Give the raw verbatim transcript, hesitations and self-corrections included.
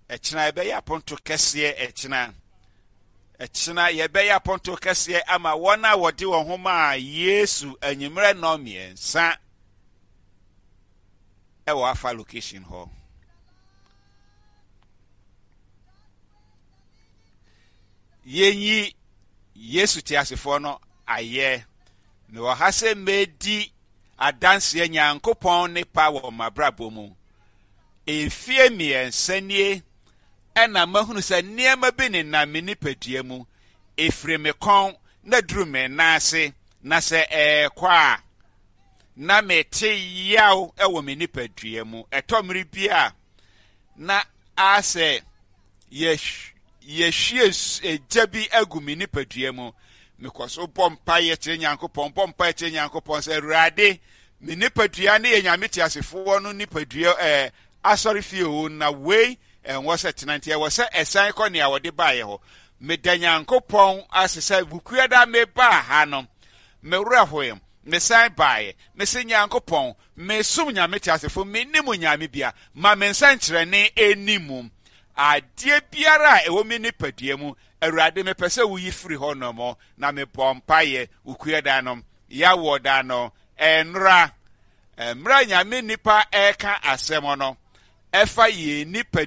Ɛkyena yɛbɛyɛ aponto kɛseɛ. Ɛkyena, ɛkyena yɛbɛyɛ aponto kɛseɛ ama wɔn a wɔde wɔn ho maa Yesu anwummerɛ nnɔn mmiɛnsa ɛwɔ afa location hɔ. Yɛnyi Yesu teasefoɔ no ayɛ. Mewɔ ha sɛ mɛdi adanseɛ Nyankopɔn ne pa wɔ m'abrabɔ mu. Mfie mmiɛnsa nie ɛna mahunu sɛ nneɛma bi nenam me nipadua mu. Ɛfiri me kɔn na duru me nan ase, na sɛ ɛrekɔ a, na mete yaw wɔ me nipadua mu. Ɛtɔ mmere bi a, na asɛ yɛhwie gya bi agu me nipadua mu. Mekɔ so bɔ mpaeɛ kyerɛ Nyankopɔn, bɔ mpaeɛ kyerɛ Nyankopɔn sɛ, Awurade, me nipadua ne yɛ Nyame teasefoɔ no nipadua ɛɛ asɔre fie o, na wei ɛnwɔ sɛ tena, nti ɛwɔ sɛ ɛsan kɔ nea wɔde baeɛ hɔ. Meda Nyankopɔn ase sɛ Wukuada mebaa ha no, me werɛ hoe, mesan baeɛ. Mese Nyankopɔn, mesom Nyame teasefo, mennim Nyame bia, ma me nsɛnkyerɛnne ɛni mu. Adeɛ biara a ɛwɔ me nipadua mu, Awurade, mepɛ sɛ woyi firi hɔ nom, na mebɔ mpaeɛ Wukuada no, yɛawɔ da no, ɛnora, mmerɛ Nyame nipa ɛreka asɛm no, ɛfa yɛn nipadua